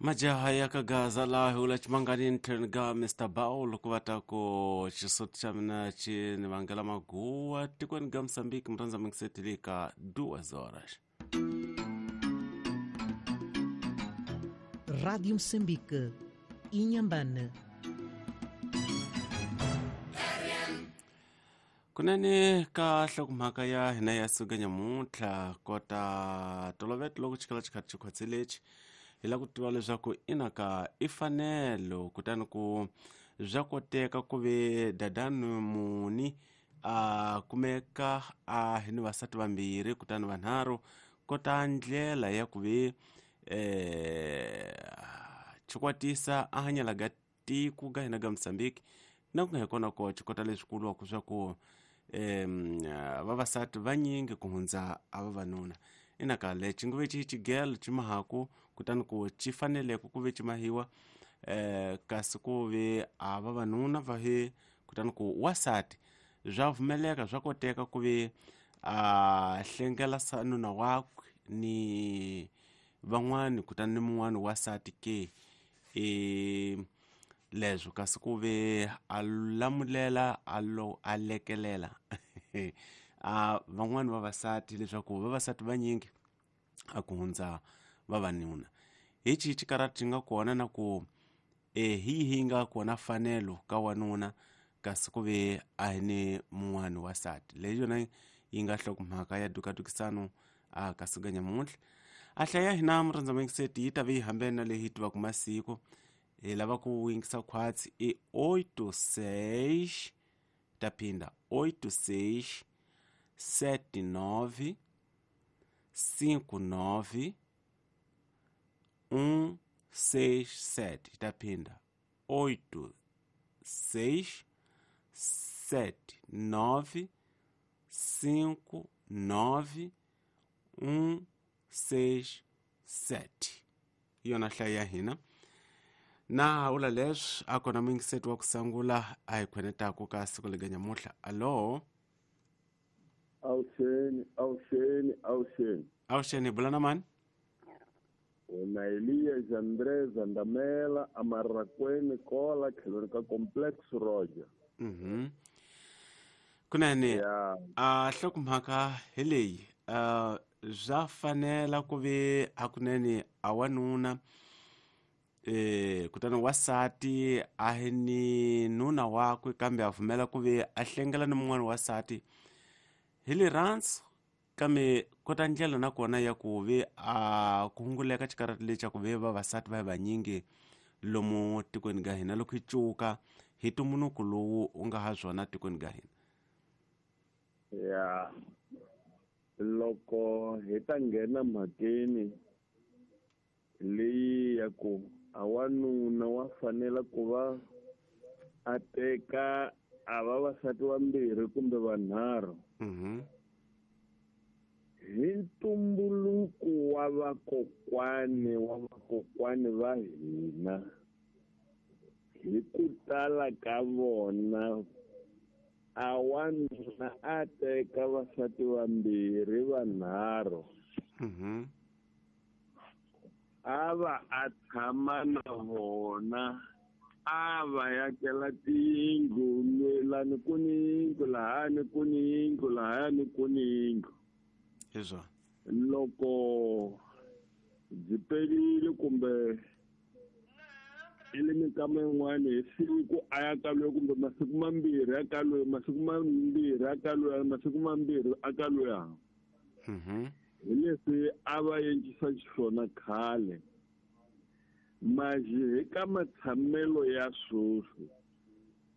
Majaha ya ka Gaza laha hi vula Chimanganini tlhelweni ka Mr Baul ku va ta ku xisuthu xa mina xi ni vangela maguwa tikweni ga Mozambique murhandza mingisetili ka duas horas. Rádio Moçambique, Inhambane. Kunene ka nhlokomhaka ya hina ya siku nyamuntlha kota toloveto loko xikala xi karhi xi khwatselexi hi lava ku tiva leswaku ina ka i fanelo kutani ku bya koteka ku ve dadani muni a kumeka a hi ni vasati vambirhi kutani vanharhu kota ndlela ya ku ve xikwatisa a hanyela ga tiko ga hina ga Mozambique na ku nga hi kona ko xikota leswi kuliwaka swa ku vavasati vanyingi ku hundza a vavanuna ina ka lexi nguve xi xigelo xi mahaku kutani ku xi faneleke ku ve xi mahiwa kasi ku ve a vavanuna va he kutani ku wasati bya pfumeleka swa koteka ku ve a hlengela nuna wakwe ni van'wani kutani ni mun'wani wasati ke e leswo kasi ku ve a lamulela a lo a lekelela a van'wani vavasati leswaku vavasati vanyingi a ku hundza vavanuna hi xihi xikarati xi nga kona na ku e hi yihi yi nga kona fanelo ka wanuna kasi ku ve a hi ni mun'wani wasati leyi yona yi nga nhlokomhaka ya dukadukisano a ka siku nyamuntlha a hlaya hina murhandza mingiseti yi ta ve yi hambene na leyi hi tivaka masiku hi lava ku yingisa khwatsi i 86 ta phinda 86 79 59 167 ta phinda 8 6 7 9 5 9 1 6 7 hi yona hlayo ya hina na vula leswi a kona muyingiseti wa ku sangula a hi khwenetaku ka siku lega nyamuntlha alo. Avuxeni, avuxeni, avuxeni. Avuxeni, hi bula na mani? Wena Elias André Zandamela Amarakweni Kola tlhelweni ka Complex Roger. Kunene a nhlokomhaka hi leyi bya fanela ku ve hakunene a wanuna kutani wasati a hi ni nuna wakwe kambe a pfumela ku ve a hlengela ni mun'wana wasati hi rirhandzu kambe kota ndlela na kona ya ku ve a ku hunguleka xikarati lexi xa ku ve vavasati va hi vanyingi lomu tikweni ga hina loko hi cuka hi ntumbuluko lowu u nga ha swona tikweni ga hina. Ya loko hi ta nghena mhakeni leyi ya ku a wanuna wa fanela ku va a teka a vavasati vambirhi kumbe vanharhu hi ntumbuluko wa vakokwani wa vakokwani va hina hi ku tala ka vona a wanuna a teka vasati vambirhi vanharhu a va a tshama na vona a va yakela tiyindlu lani ku ni yindlu lahayani ku ni yindlu lahayani ku ni yindlu. Hi swona. Loko byi perile kumbe i le minkama yin'wani hi siku a ya ka loyi kumbe masiku mambirhi ya ka loyi masiku mambirhi ya ka loyi masiku mambirhi a ka loya. Hi leswi a va endlisa xiswona khale. Manje hi ka matshamelo ya sweswi